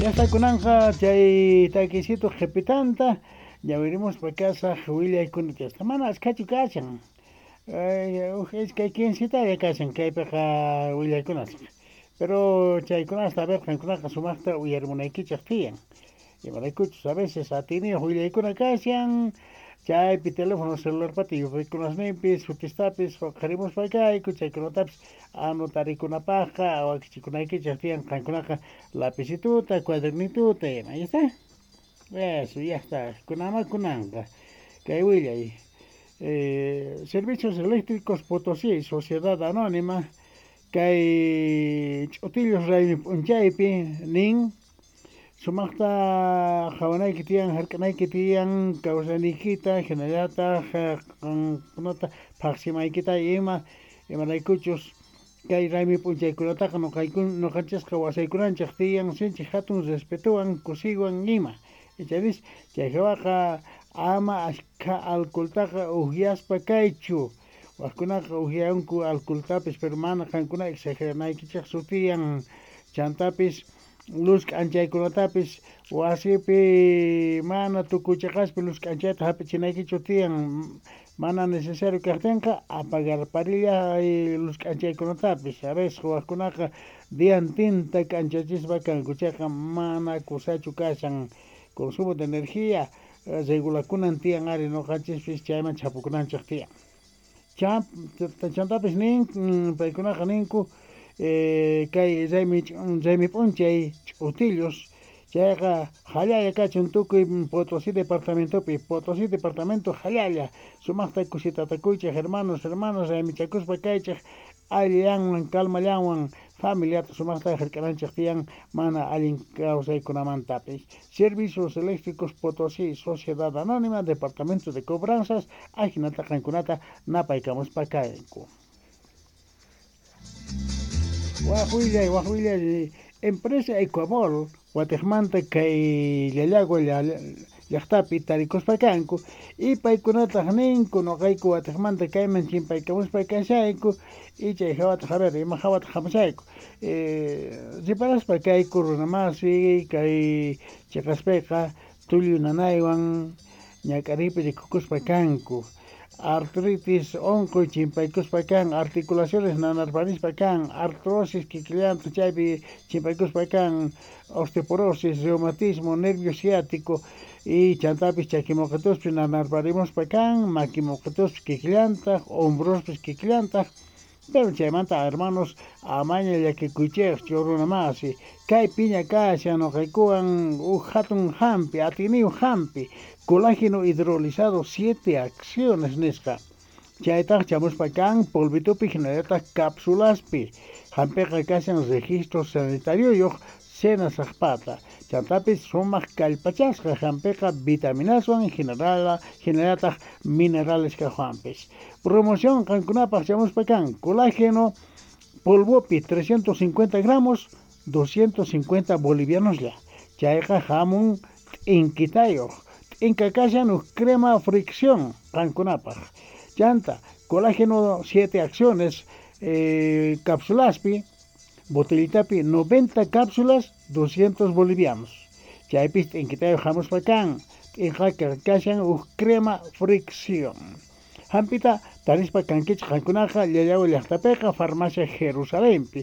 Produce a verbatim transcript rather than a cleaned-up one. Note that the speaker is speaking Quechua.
Ya está kunanqa chay takisito qhipitanta ñawirimuspa kasaq willaykuna hasta mana achkachu kashan. Huk iskay quincetalla kashan kaypiqa willaykunas. Pero chaykunasta a ver qankunaqa sumaqta uyarimunaykichik tiyan. Imaraykuchus a veces atiyniyuq willaykuna kashan chaypi teléfono celularpata yupaykunasninpis sutistapis huqarimuspa kayku chaykunatapis anotarikunapaqqa wakichikunaykichik tiyan qankunaqa lapicituta cuadernituta ima. Ahí está. Eso, ya está. Kunama kunanqa. Kay willay. Eh, Servicios Eléctricos Potosí, Sociedad Anónima, kay ch'utillos raymi p'unchaypi nin sumaqta qhawanayki tiyan hark'anayki tiyan kawsayniykita hinallataq qankunata phaqsimaykita ima imaraykuchus kay raymi p'unchaykunataqa nuqayku nuqanchisqa wasaykunanchik tiyan sinchi hatun respetuwan kusiywan ima. Ichapis chay hawaqa ama achka alcoholtaqa ukyaspa kaychu. Wakkunaqa ukyanku alcoholtapis pero mana qankuna exageranaykichikchu tiyan chantapis luz k'anchaykunatapis wasipi mana tukuy luz k'anchayta hap'ichinaykichu tiyan mana necesario kaqtinqa apagarparilla luz k'anchaykunatapis a veces wakkunaqa diantinta k'anchachispa kanku chayqa mana kusachu kashan consumo de energía regulakunan tiyan ari nuqanchispis chayman chhapukunanchik tiyan. Chantapis nin paykunaqa ninku eh, kay raymi raymi p'unchay ch'utillos chayqa hallalla kachun tukuy Potosí departamentopi Potosí departamento hallalla sumaqta kusitatakuychik hermanos hermanas raymichakuspa kaychik allillanwan calmallanwan familiata sumaqta hark'ananchik tiyan mana allin kawsaykunamantapis. Servicios Eléctricos Potosí, Sociedad Anónima, Departamento de Cobranzas, ajinata qankunata napaykamuspa kayku. Waq willay, waq willay, empresa Ecuabol, watiqmanta kay Llallagua llaqtapi tarikuspa kanku y paykunataq ninku nuqayku watiqmanta kayman chimpaykamuspa kashayku y chay hawataq a ver ima hawataq hamushayku eh, riparaspa kayku runamasi kay chiqaspiqa tullu nanaywan ñak'ariypi rikukuspa kanku artritis unquy chimpaykuspa kan articulaciones nanarparispa kan artrosis kikillanta chaypi chimpaykuspa kan osteoporosis reumatismo nervio ciático y chantapis chakimuqatuspi nanarparimuspa kan makimuqatuspi kikillantaq hombrospis kikillantaq pero chaymanta hermanos amaña llakikuychikchu runamasi kay piña kashan nuqaykuwan huk hatun hampi atiyniyuq hampi colágeno hidrolizado siete acciones nisqa chaytaq chamuspa kan polvitupi hinallataq cápsulaspi hampiqa kashan registro sanitarioyuq Senasaqpata chantapis sumaq kallpachasqa hampiqa vitaminaswan generala hinallataq minerales kaqwanpis promoción qankunapaq chamuspa kan colágeno polvopi trescientos cincuenta gramos doscientos cincuenta bolivianos ya chayqa hamun t'inkitayuq t'inka kashan huk crema fricción qankunapaq chanta colágeno siete acciones eh, cápsulaspi botellitapi noventa cápsulas doscientos bolivianos chaypis t'inkitayuq hamuspa kan t'inqa kashan huk crema fricción hampita tarispa kankichik qankunaqa Llallagua llaqtapiqa farmacia Jerusalenpi